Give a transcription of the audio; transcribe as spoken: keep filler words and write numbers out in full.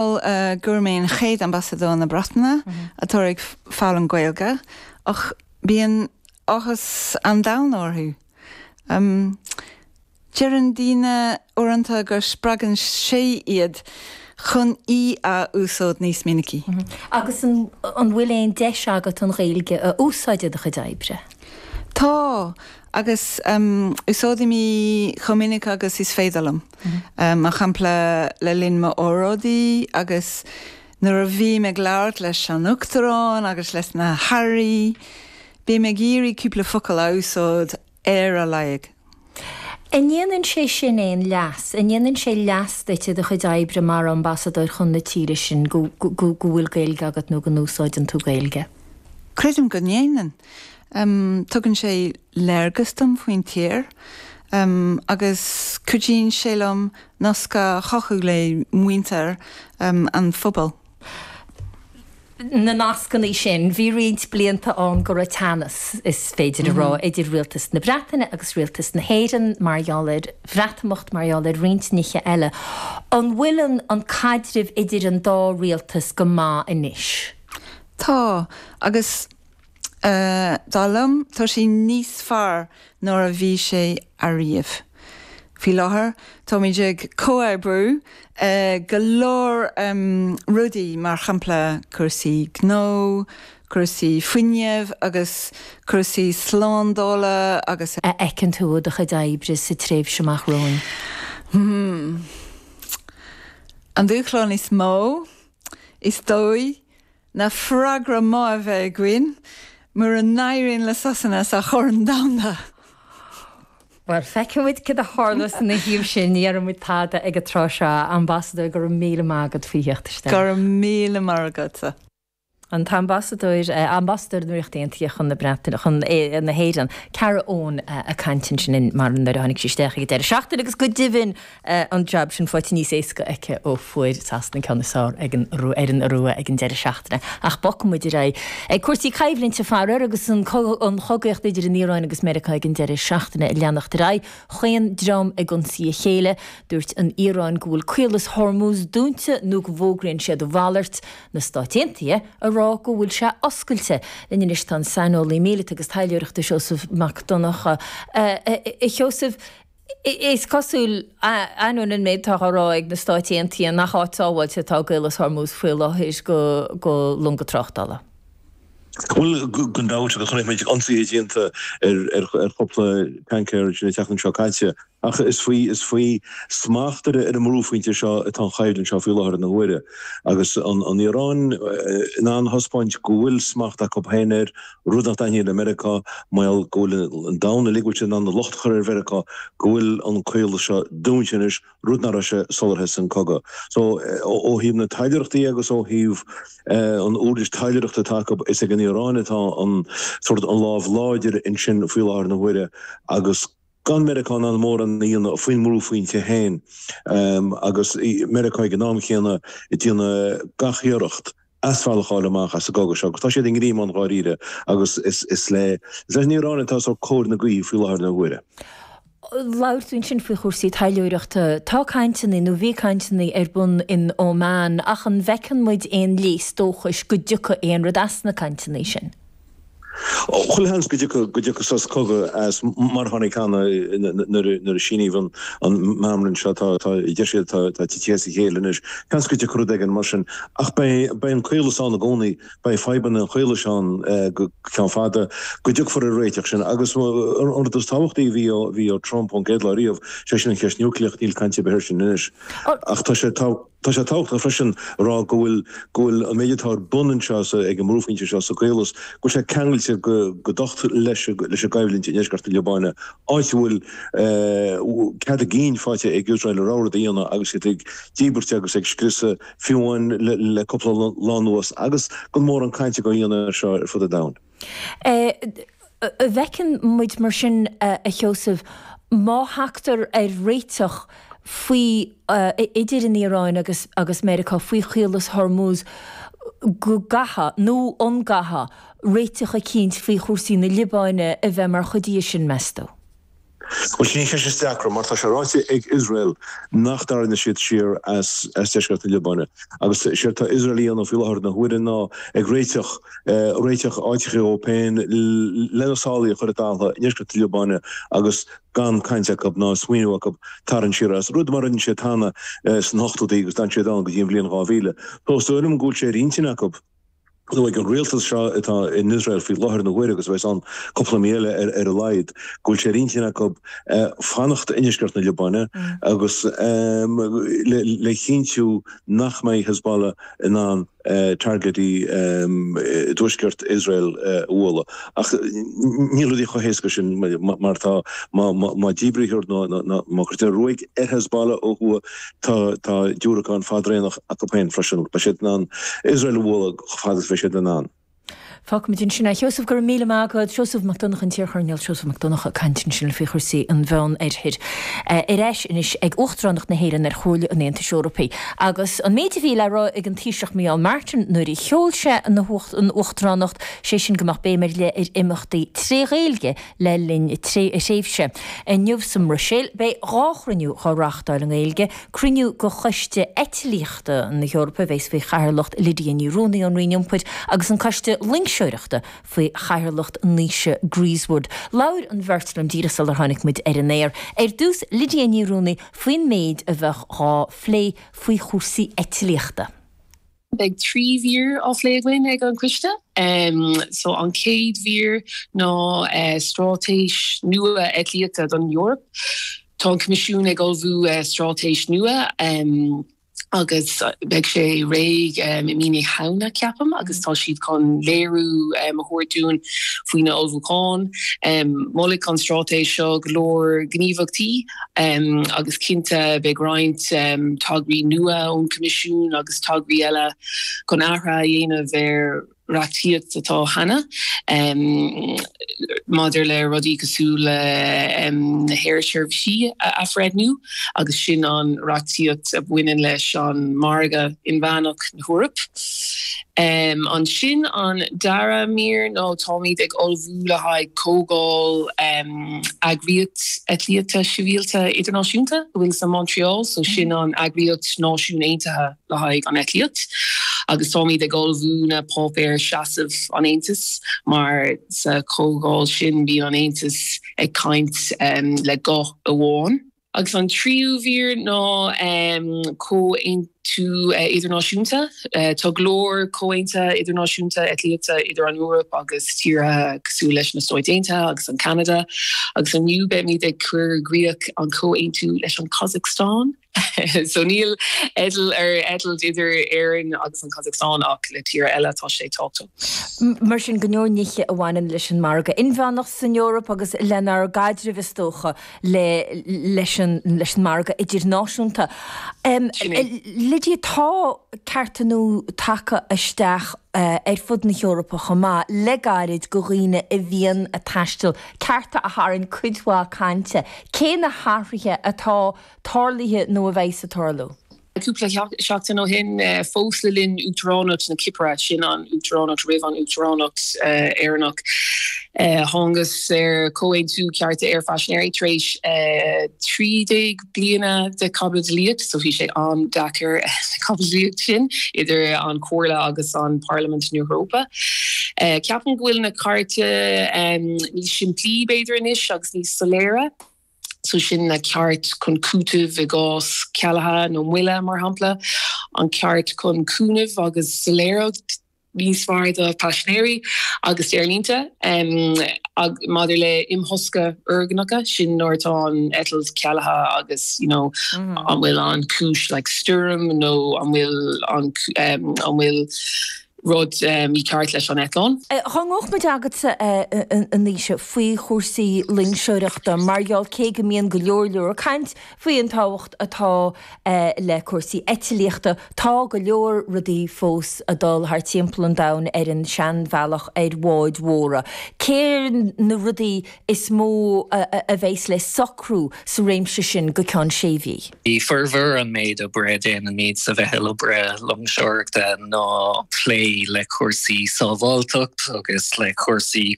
Gur mé an chéad ambasadóir na Breataine atá ag foghlaim Gaeilge ach bíonn áthas an domhain orthu. Um, Deireann daoine uaireanta gur spreagann sé iad chun í a úsáid níos minicí. Mm -hmm. Agus an, an bhfuil aon deis agat an Ghaeilge a úsáid i do chuid oibre? Tá agus um, úsáidim í chomh minic agus is féidir liom. Mm -hmm. um, mar shampla le linn m'óráidí agus nuair a bhím ag labhairt leis an uachtarán agus leis na hairí, bím ag iarraidh cúpla focal a úsáid ar a laghad. An ndéanann sé sin aon leas, an ndéanann sé leas duit i do chuid oibre mar ambasadóir chun na tíre sin go go bhfuil Gaeilge agat nó go n-úsáideann tú Gaeilge? Creidim go ndéanann. Um, tugann sé léargas dom faoin tír um, agus cuidíonn sé liom nasc a chothú le muintir um, an phobail. Na nascanna sin, bhí roinnt blianta ann go raibh teannas is féidir a rá mm -hmm. idir rialtas na Breataine agus rialtas na hÉireann mar gheall ar Bhreatimeacht mar gheall ar roinnt nithe eile. An bhfuil an, an caidreamh idir an dá rialtas go maith anois? Tá agus Uh, dar liom tá sé níos fearr ná a bhí sé ariamh. Faoi láthair táimid ag comhoibriú uh, go leor um, rudaí mar shampla cúrsaí gnó, cúrsaí fuinnimh agus cúrsaí slándála agus a fheiceann tú i do chuid oibre sa tréimhse amach romhainn. Hmm. An dúshlán is mó is dóigh ná freagra maith a bheith againn, mura n-éiríonn le Sasana sa Chorn Domhanda. Well feicfimid cad a tharlós ina thaobh sin ní déarfaidh muid tada ag an tráth seo ambasadóir go raibh míle maith agat faoi theacht isteach. Go raibh míle maith agatsa. An t-ambasadóir ambasadóir na Ríochta Aontaithe chun na Breataine chun na hÉireann Cara Owen ag caint ansin mar nuair a tháinig sí isteach ag deireadh seachtaine agus go deimhin an jab sin faighte níos éasca aici ó fuair Sasana ceann is fearr ag an ar an Iorua ag an deireadh seachtaine. Ach bogfaimid ar aghaidh. Ag cúrsaí coimhlinte faraor agus an an chogaíocht idir an Iaráin agus Meiriceá ag an deireadh seachtaine ag leanacht ar aghaidh, chaon dream ag ionsaí a chéile. Dúirt an Iaráin go bhfuil Caolas Hormuz dúnta nó go bhfógraíonn siad a mhalairt. Na Stáit Aontaithe a rá go bhfuil sé oscailte. Linn anois tá an saineolaí míleata agus taidhleoireachta Seosamh Mac Donncha. A Sheosaimh, is cosúil, ainneoin an méid atá á rá ag na Stáit Aontaithe, nach áit sábháilte atá i gCaolas Hormuz faoi láthair do longa tráchtála. Bhuel, gan dabht, agus chonaic muid ionsaithe déanta ar ar chúpla tancaer sin an tseachtain seo caite. Ach is faoi is faoi smacht ar an mbrúphointe seo atá an choimhlint seo faoi láthair na huaire. Agus an an Iaráin in ann a thaispeáint go bhfuil smacht acu féin air, rud nach dtaitníonn le Meiriceá, mar go bhfuil an domhan uilig bhfuil siad in ann an locht a chur ar Mheiriceá go bhfuil an caolas seo dúnta anois, rud nach raibh sé sular thosaigh an cogadh. So ó thaobh na taidhleoireachta agus ó thaobh an uirlis taidhleoireachta atá acu, is ag an Iaráin atá an sórt an lámh láidir ansin faoi láthair na huaire agus gan Meiriceá in ann mórán a dhéanamh faoin mbrúphointe féin agus Meiriceá ag an am chéanna ag déanamh gach iarracht asbhealach a fháil amach as an gcogadh seo agus tá siad i ngreamán dháiríre agus is le is leis an Iaráin atá sórt cóir na gaoithe faoi láthair na huaire. Labhair tú ansin faoi chúrsaí taidhleoireachta. Tá cainteanna, nó bhí cainteanna ar bun in Oman ach an bhfeiceann muid aon léas dóchais go dtiocfaidh aon rud as na cainteanna sin? Chuile sheans go dtiocfadh go dtiocfadh sos cogaidh as mar a tháinig cheana nuair nuair a síníodh an an meamram seo tá tá deir siad tá tá titithe as a chéile anois. Seans go dtiocfadh rud éigin mar sin ach beidh beidh an caolas ann i gcónaí, beidh fadhbanna an chaolais ann go ceann fada go dtiocfar ar réiteach sin agus an rud is tábhachtaí a bhí ó bhí ó Trump ón gcéad lá riamh, sé sin an cheist núicléach, níl caint ar bith air sin anois ach tá sé tá Tá sé tábhachtach freisin a rá go bhfuil go bhfuil an méid atá ar bun anseo sa ag an mbrúphointe seo sa gCaolas, go bhfuil sé ceangailte go go docht leis leis an gcoimhlint i ndeisceart na Liobáine, áit a bhfuil cead a gcinn faighte ag Iosrael a rogha rud a dhéanamh agus iad ag díbirt agus ag scriosadh fiú amháin le le cúpla lá anuas agus gan mórán cainte á dhéanamh air seo ar fud an domhain. An bhfeiceann muid mar sin, a Sheosaimh, má thagtar ar réiteach faoi idir an Iaráin agus agus Meiriceá faoi Chaolas Hormuz go gcaithfeadh, nó an gcaithfeadh, réiteach eicínt faoi chúrsaí na Liobáine a bheith mar chuid dhe sin, meas tú? Bhuel sin an cheist is deacra mar tá sé ráite ag Iosrael nach dtarraingeoidh siad siar as deisceart na Liobáine agus séard tá Iosrael a dhéanamh faoi láthair na huaire ná ag réiteach réiteach áiteacha dóibh féin lena sálaí a chur i dtalamh i ndeisceart na Liobáine agus gan caint acu ná smaoineamh acu tarraingt siar as, rud mar a rinne siad cheana sna hochtóidí agus d'fhan siad ann go dtí an bhliain dhá mhíle. Tá is dóigh liom go bhfuil sé ar intinn acu. nó ag an rialtas seo atá in Iosrael faoi láthair na huaire agus a bheas ann cúpla mí eile ar a laghad, go bhfuil sé ar intinn acu fanacht i ndeisceart na Liobáine agus le cinntiú nach mbeidh Hezbollah in ann targaidí i dtuaisceart Iosrael a bhualadh. Ach níl rudaí chomh héasca sin mar tá má díbrítear nó má chuirtear ruaig ar Hezbollah ó thuaidh tá tá diúracán fadraonach acu féin freisin. Beidh siad in ann Iosrael a bhualadh chomh fada is a bheidh siad in ann. Fágfaimid ansin é. A Sheosaimh, go raibh míle maith agat. Seosamh Mac Donncha, an t-iarchoirnéal Seosamh Mac Donncha ag caint ansin faoi chúrsaí an Mheánoirthir. Ar ais anois ag Uachtaránacht na hÉireann ar Chomhairle an Aontais Eorpaigh. Agus an méid a bhí le rá ag an Taoiseach Micheál Martin nuair a sheol sé an Uachtaránacht, sé sin go mbeadh béim ar leith ar imeachtaí tré Ghaeilge le linn a thréimhse. Inniu sa mBruiséil, beidh dhá chruinniú dhá reáchtáil i nGaeilge, cruinniú de Choiste Eitlíochta na hEorpa a bheas faoi chathaoirleacht Lydia Ní Ruanaí ón Roinn Iompair agus an Coiste Loingseoireachta faoi chathaoirleacht Naoise Grieswood. Labhair an bheirt liom díreach sular tháinig muid ar an aer. Ar dtús, Lydia Ní Ruanaí faoin méid a bheadh dhá phlé faoi chúrsaí eitlíochta. Beidh trí mhír á phlé againn ag an gcoiste. So an chéad mhír ná straitéis nua eitlíochta don Eoraip. Tá an Coimisiún ag ullmhú straitéis nua agus beidh sé réidh i mí na Samhna, ceapaim, agus tá siad chun léiriú a thabhairt dúinn faoi na ullmhúcháin. Molfaidh an straitéis seo go leor gníomhaíochtaí agus cinnte beidh roinnt tograí nua ón Coimisiún agus tograí eile chun athruithe a dhéanamh ar reachtaíocht atá cheana maidir le rudaí cosúil le na haersheirbhísí a athbhreithniú agus sin an reachtaíocht a bhaineann leis an margadh inmheánach na hEorpa. Ansin an dara mír ná táimid ag ullmhú le haghaidh comhdháil Eagraíocht Eitlíochta Sibhialta Idirnáisiúnta a bhfuil sa Montreal, so sin an eagraíocht Náisiún Aontaithe le haghaidh an eitlíocht agus táimid ag ullmhú na páipéir seasamh an Aontais mar sa chomhdháil sin bíonn an Aontas ag caint le guth amháin. Agus an tríú mhír ná comhaontú idirnáisiúnta. Tá go leor comhaontuithe idirnáisiúnta eitlíochta idir an Eoraip agus tíortha cosúil leis na Stáit Aontaithe agus an Ceanada agus inniu beimid ag cur i gcrích an comhaontú leis an Kazakhstan. So níl eitilt ar eitilt idir Éirinn agus an Kazakhstan ach le tíortha eile tá sé tábhachtach. Mar sin go leor nithe a bhaineann leis an margadh inmheánach san Eoraip agus lenár gcaidreamh is dócha le leis an leis an margadh idirnáisiúnta. Lydia, tá cearta nua tagtha isteach ar fud na hEorpa chomh maith le gairid do dhaoine a bhíonn ag taisteal, cearta a tharraing cuid mhaith cainte. Cé na hathruithe atá tarlaithe nó a bheidh ag tarlú? Cúpla seachtain ó shin, fós le linn Uachtaránacht na Cipire, sin an Uachtaránacht roimh an Uachtaránacht Éireannach, thángthas ar chomhaontú cearta aerphaisinéirí tar éis trí déag bliana de chaibidlíocht, so bhí sé an-deacair na caibidlíocht sin idir an Chomhairle agus an Parlaimint na hEorpa. Ceapaim go bhfuil na cearta níos simplí b'fhéidir anois agus níos soiléire. So sin na ceart chun cúitimh i gcás cealaithe nó moille mar shampla, an ceart chun cúnaimh agus soiléireacht níos fearr do phaisinéirí agus d'aerlínte maidir le imthosca foirgneacha, sin nuair atá an eitilt cealaithe agus you know an bhfuil an cúis like stoirm nó an bhfuil an an bhfuil rud mícheart leis an eitleán. Dá ngabhfadh muid agatsa a Naoise faoi chúrsaí loingseoireachta mar gheall cé go mbíonn go leor leor caint faoi an tábhacht atá le cúrsaí eitlíochta, tá go leor rudaí fós ag dul thar timpeall an domhain ar an seanbhealach ar bháid mhóra. Cé na rudaí is mó a bheas le socrú sa réimse sin go ceann sé mhí? Formhór an méid oibre a déanaimid sa mheitheal oibre loingseoireachta ná plé le cúrsaí sábháilteacht agus le cúrsaí